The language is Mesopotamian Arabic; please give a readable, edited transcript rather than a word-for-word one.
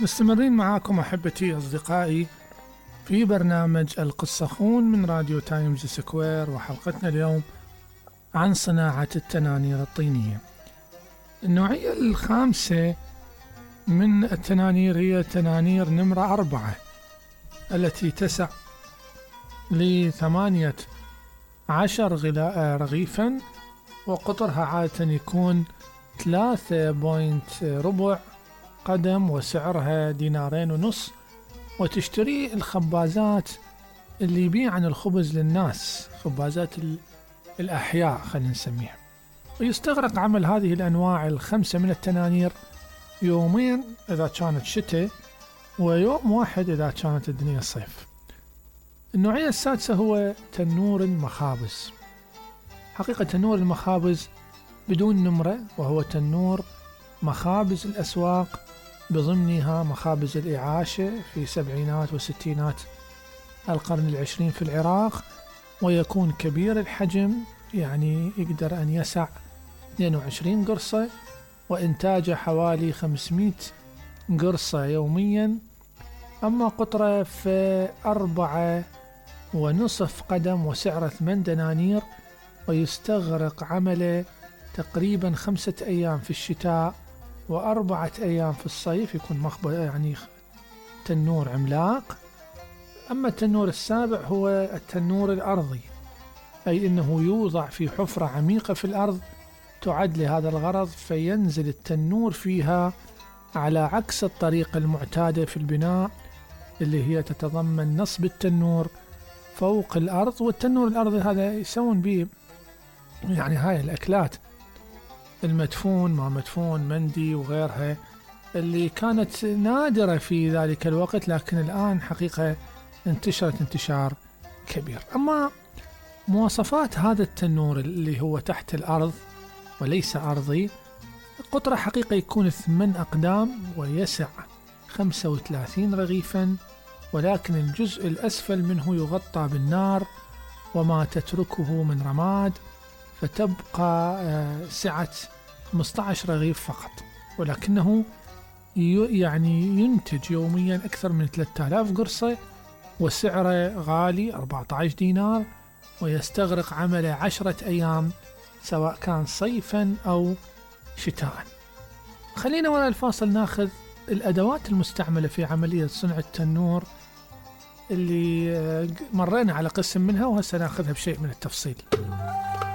مستمرين معاكم أحبتي أصدقائي في برنامج القصخون من راديو تايمز سكوير، وحلقتنا اليوم عن صناعة التنانير الطينية. النوعية الخامسة من التنانير هي تنانير نمرة 4 التي تسع ل18 رغيفا، وقطرها عادة يكون 3.4 قدم، وسعرها 2.5 دينار، وتشتري الخبازات اللي يبيعن الخبز للناس، خبازات الأحياء خلينا نسميها. ويستغرق عمل هذه الأنواع الخمسة من التنانير يومين إذا كانت شتاء، ويوم واحد إذا كانت الدنيا صيف. النوعية السادسة هو تنور المخابز. حقيقة تنور المخابز بدون نمرة، وهو تنور مخابز الأسواق، بضمنها مخابز الإعاشة في سبعينات وستينات القرن العشرين في العراق، ويكون كبير الحجم، يعني يقدر أن يسع 22 قرصة، وإنتاجه حوالي 500 قرصة يوميا. أما قطره في 4.5 قدم، وسعره 8 دنانير، ويستغرق عمله تقريبا 5 أيام في الشتاء و4 أيام في الصيف، يكون يعني تنور عملاق. أما التنور السابع هو التنور الأرضي، أي أنه يوضع في حفرة عميقة في الأرض تعد لهذا الغرض، فينزل التنور فيها على عكس الطريقة المعتادة في البناء، اللي هي تتضمن نصب التنور فوق الأرض. والتنور الأرضي هذا يسوون به يعني هاي الأكلات المدفون، ما مدفون، مندي وغيرها، اللي كانت نادرة في ذلك الوقت، لكن الآن حقيقة انتشرت انتشار كبير. أما مواصفات هذا التنور اللي هو تحت الأرض وليس أرضي، قطره حقيقة يكون 8 أقدام، ويسع 35 رغيفا، ولكن الجزء الأسفل منه يغطى بالنار وما تتركه من رماد، فتبقى سعة 15 رغيف فقط، ولكنه يعني ينتج يوميا أكثر من 3000 قرصة، وسعره غالي 14 دينار، ويستغرق عمله 10 أيام سواء كان صيفا أو شتاء. خلينا وراء الفاصل ناخذ الأدوات المستعملة في عملية صنع التنور اللي مرينا على قسم منها، وهسه ناخذها بشيء من التفصيل.